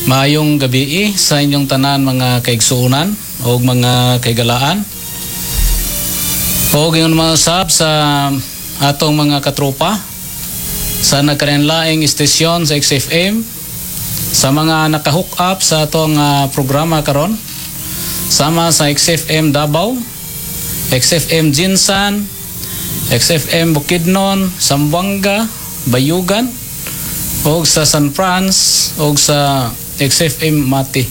Maayong gabii sa inyong tanan, mga kaigsuonan o mga kaigalaan. O ingon mga usab sa atong mga katropa sa nagkalainlaing istasyon sa XFM, sa mga naka-hook up sa atong programa karon, sama sa XFM Davao, XFM GenSan, XFM Bukidnon, Zamboanga, Bayugan, og sa San Franz og sa XFM Mati.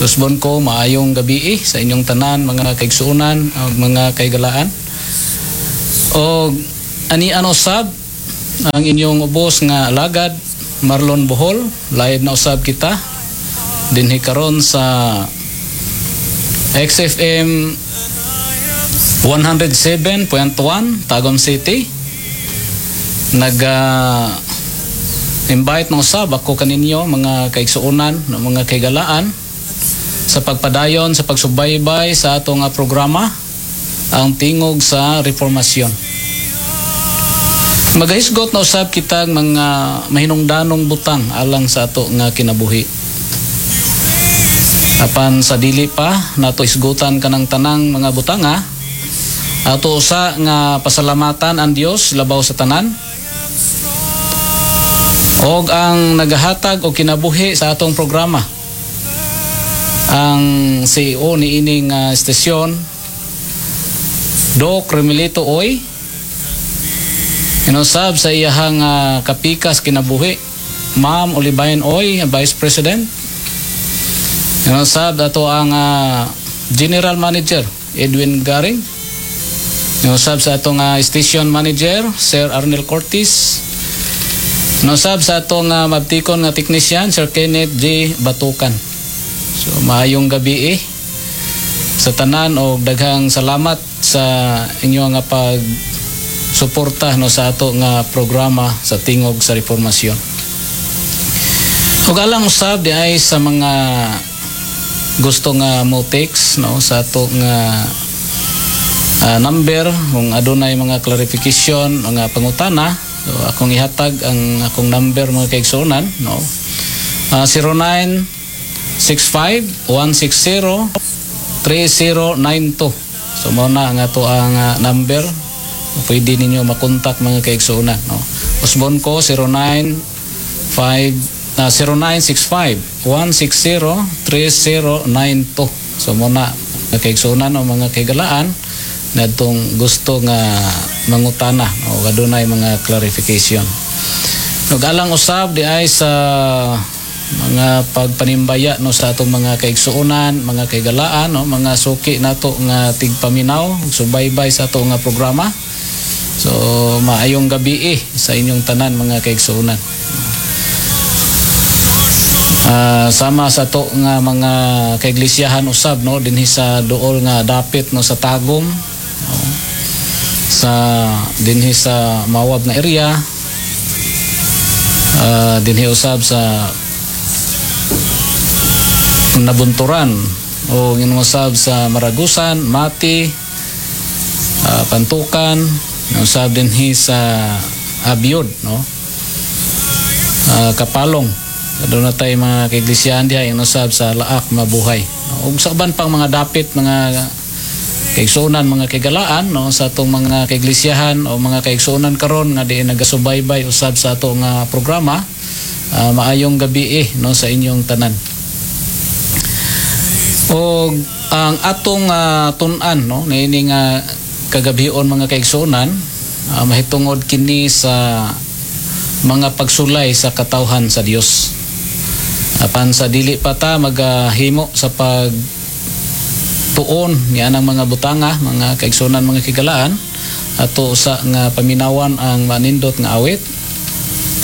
Susbon ko, maayong gabii sa inyong tanan, mga kaigsuonan ug mga kaigalaan. Og ani usab ang inyong ubos nga alagad, Marlon Bohol, live na usab kita dinhi karon sa XFM 107.1 Tagum City. Nag invite na usab ako kaninyo, mga kaigsuonan, mga kaigalaan, sa pagpadayon sa pagsubaybay sa atong programa, ang Tingog sa Reformasyon. Magahisgot na usab kitang mga mahinungdanong butang alang sa ato nga kinabuhi. Apan sa dili pa nato isgutan kanang tanang mga butanga, ato usa nga pasalamatan ang Dios labaw sa tanan og ang nagahatag og kinabuhi sa atong programa, ang CEO ni ining estasyon, Doc Remilito Oy, inusab sa iyahang kapikas kinabuhi, Ma'am Olivain Oy, Vice President, inusab ato ang General Manager Edwin Garing, inusab sa atong Station Manager Sir Arnel Cortez, inusab sa atong mabtikon nga technician, Sir Kenneth J. Batukan. So maayong gabii sa tanan og daghang salamat sa inyo nga pag suporta, no, sa ato nga programa sa Tingog sa Reformasyon. Ug alang usab di ay sa mga gusto nga mo text, no, sa ato nga number kung adunay mga clarification, mga pangutana. So akong ihatag ang akong number, mga kaigsuonan, no. 0965 160 3092. So mao na ang ato ang number. Pwede ninyo makontak, mga kaigsuonan, no. Usbon ko, 095 0965 160 3092. So mao na, mga kaigsuonan o mga kaigalaan nadtong gusto nga mangutana o adunay mga clarification. Nagalang usab di ay sa mga pagpanimbaya, no, sa atong mga kaigsuonan, mga kaigalaan, no, mga suki nato nga tigpaminaw, subaybay sa ato nga programa. So maayong gabii sa inyong tanan, mga kaigsuonan. Sama sa to nga mga kaiglesiyahan usab, no, dinhi sa duol nga dapit, no, sa Tagum, no, sa dinhi sa Mawab na area, dinhi usab sa Nabunturan o usab sa Maragusan, Mati, Pantukan, usab dinhi sa Abiod, no, Kapalong. Doon na tayo mga kaiglesiyahan diha usab sa Laak, Mabuhay. Ug sa uban pang mga dapit, mga kaigsuonan, mga kaigalaan, no, sa atong mga kaiglesiyahan o mga kaigsuonan karon nga di nagasubaybay usab sa ato nga programa, maayong gabii, no, sa inyong tanan. Og ang atong tun-an, no, niini nga kagabion, mga kaigsuonan, mahitungod kini sa mga pagsulay sa katawhan sa Dios. Apan sa dili pa ta magahimo sa pag tuon niya ng mga butanga, mga kaigsuonan, mga kigalaan, ato sa nga paminawan ang manindot nga awit.